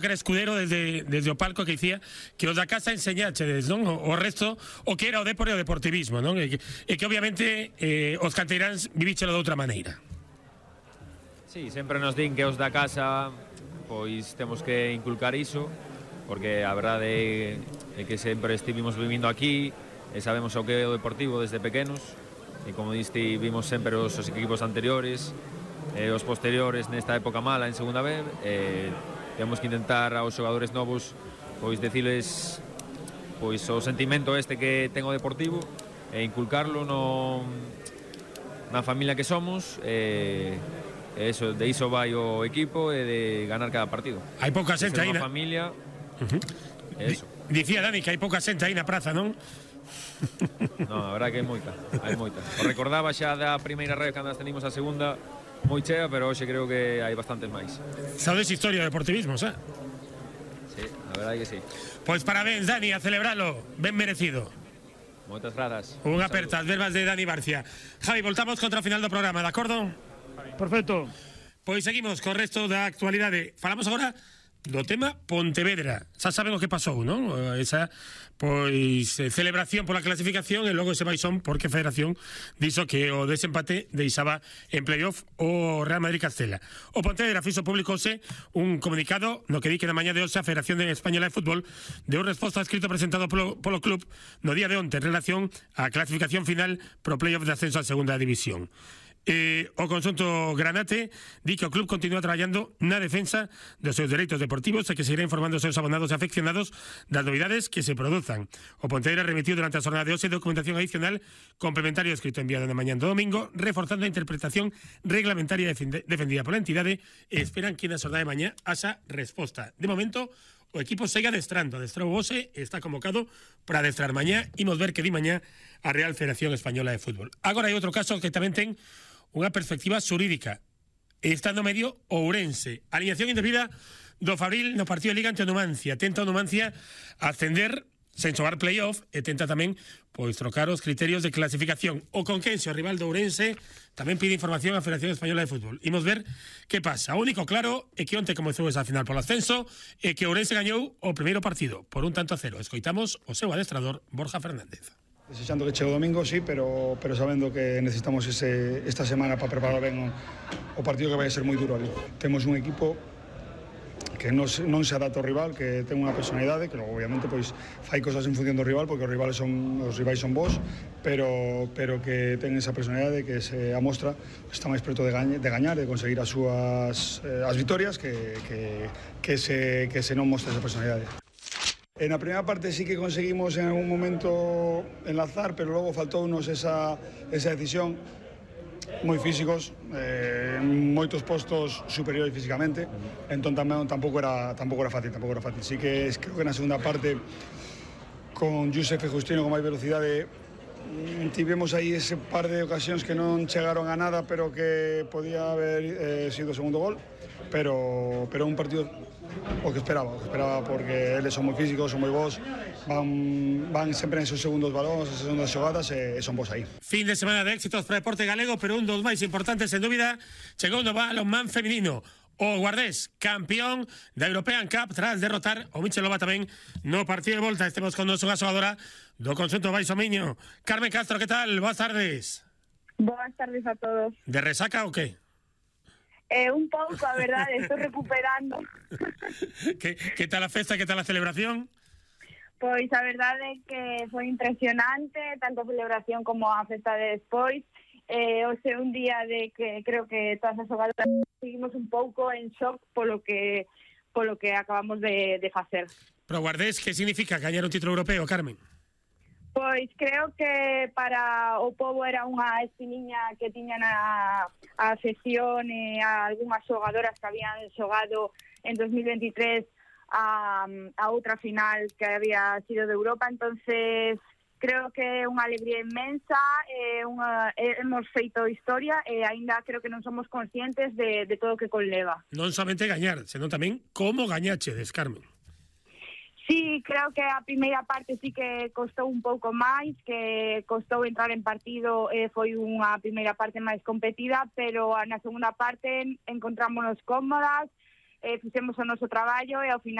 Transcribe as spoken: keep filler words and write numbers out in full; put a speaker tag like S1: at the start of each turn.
S1: Que era escudero desde, desde o palco que dicía que os da casa enseñachedes, non? O, o resto, o que era o deporte e o deportivismo, non? E que, e que obviamente eh, os canteiráns vivíchelo de outra maneira.
S2: Sí, sempre nos din que os da casa pois temos que inculcar iso, porque a verdade é que sempre estivimos vivindo aquí e sabemos o que é o deportivo desde pequenos, e como diste, vimos sempre os, os equipos anteriores e os posteriores nesta época mala en segunda B, e temos que intentar aos xogadores novos pois deciles pois o sentimento este que ten o deportivo e inculcarlo no na familia que somos, e, e eso, de iso vai o equipo e de ganar cada partido.
S1: Hai pouca xente aí na
S2: familia.
S1: Uh-huh.
S2: Eso.
S1: Dicía Dani que hai pouca xente aí na praza, non?
S2: Non, a verdade que hai moita, hai moita. O recordaba xa da primeira rede cando tenimos a segunda moi chea, pero hoxe creo que hai bastantes máis.
S1: Sabes historia de deportivismo, xa?
S2: Sí, a verdade que sí.
S1: Pois parabéns, Dani, a celebralo, ben merecido.
S2: Moitas grazas.
S1: Unha aperta, as verbas de Dani Barcia. Javi, voltamos contra o final do programa, de acordo?
S3: Perfecto.
S1: Pois seguimos co resto da actualidade. Falamos agora do tema Pontevedra. Xa saben o que pasou, non? Esa, pois, celebración pola clasificación e logo ese baixón porque a Federación dixo que o desempate deixaba en playoff o Real Madrid Castela. O Pontevedra fixo publicouse un comunicado no que di que na mañá de hoxe a Federación Española de Fútbol deu resposta a escrito presentado polo, polo club no día de onte en relación á clasificación final pro playoff de ascenso a segunda división. Eh, o conxunto granate di que o club continúa traballando na defensa dos seus dereitos deportivos e que seguirá informando os seus abonados e afeccionados das novidades que se produzan. O Pontevedra remitiu durante a xornada de hoxe documentación adicional complementario escrito enviado na mañá do domingo, reforzando a interpretación reglamentaria defendida pola entidade, e esperan que na xornada de mañá haxa resposta. De momento, o equipo segue adestrando, adestrou hoxe, está convocado para adestrar mañá. Imos ver que di mañá a Real Federación Española de Fútbol. Agora hai outro caso que tamén ten unha perspectiva xurídica. Está no medio Ourense. Alineación indebida do Fabril no partido de Liga ante o Numancia. Tenta o Numancia ascender sen xogar playoff e tenta tamén pois trocar os criterios de clasificación. O Conquense, o rival do Ourense, tamén pide información á Federación Española de Fútbol. Imos ver que pasa. O único claro é que onte comezou esa final polo ascenso e que Ourense gañou o primeiro partido por un tanto a cero. Escoitamos o seu adestrador Borja Fernández.
S4: Desexando que chegue o domingo, sí, pero, pero sabendo que necesitamos ese, esta semana para preparar ben o, o partido, que vai ser moi duro ali. Temos un equipo que non, non se adapta ao rival, que ten unha personalidade, que logo obviamente pois fai cosas en función do rival, porque os rivais son os rivais son vos, pero pero que ten esa personalidade que se amostra, está máis preto de, gañe, de gañar, de conseguir as súas eh, as vitorias, que, que, que, se, que se non mostra esa personalidade. En la primera parte sí que conseguimos en algún momento enlazar, pero luego faltounos esa, esa decisión. Moi físicos, eh, en moitos postos superiores físicamente, entón tamén tampouco era, tampouco era fácil, tampouco era fácil. Sí que creo que na segunda parte, con Josef e Justino con máis velocidade, tivemos aí ese par de ocasións que non chegaron a nada, pero que podía haber eh, sido o segundo gol, pero, pero un partido o que esperaba, o que esperaba, porque eles son moi físicos, son moi bons, van, van sempre en esos segundos balóns, esas segundas xogadas, e, e son bons aí.
S1: Fin de semana de éxitos para o deporte galego, pero un dos máis importantes, en dúbida, chegou no balonmán feminino. O Guardés, campeón da European Cup, tras derrotar o Michelova tamén no partido de volta. Estemos con nosa xogadora do conxunto Baixo Miño. Carmen Castro, que tal? Boas tardes.
S5: Boas tardes a todos.
S1: De resaca ou que?
S5: Eh, un pouco, a verdade, estou recuperando.
S1: que, que tal a festa, que tal a celebración?
S5: Pois a verdade é que foi impresionante, tanto a celebración como a festa de despois. Eh, hoxe un día de que creo que todas as xogadoras seguimos un pouco en shock polo que polo que acabamos de, de facer.
S1: Pero Guardés, que significa gañar un título europeo, Carmen?
S5: Pois creo que para o pobo era unha espiniña que tiñan a, a sesión e a algunhas xogadoras que habían xogado en dos mil veintitrés a, a outra final que había sido de Europa, entonces creo que é unha alegría inmensa, é unha, hemos feito historia e aínda creo que non somos conscientes de, de todo o que conleva.
S1: Non somente gañar, senón tamén como gañachedes, Carmen.
S5: Sí, creo que a primeira parte sí que costou un pouco máis, que costou entrar en partido, eh, foi unha primeira parte máis competida, pero na segunda parte encontrámonos cómodas, eh, fixemos o noso traballo e ao final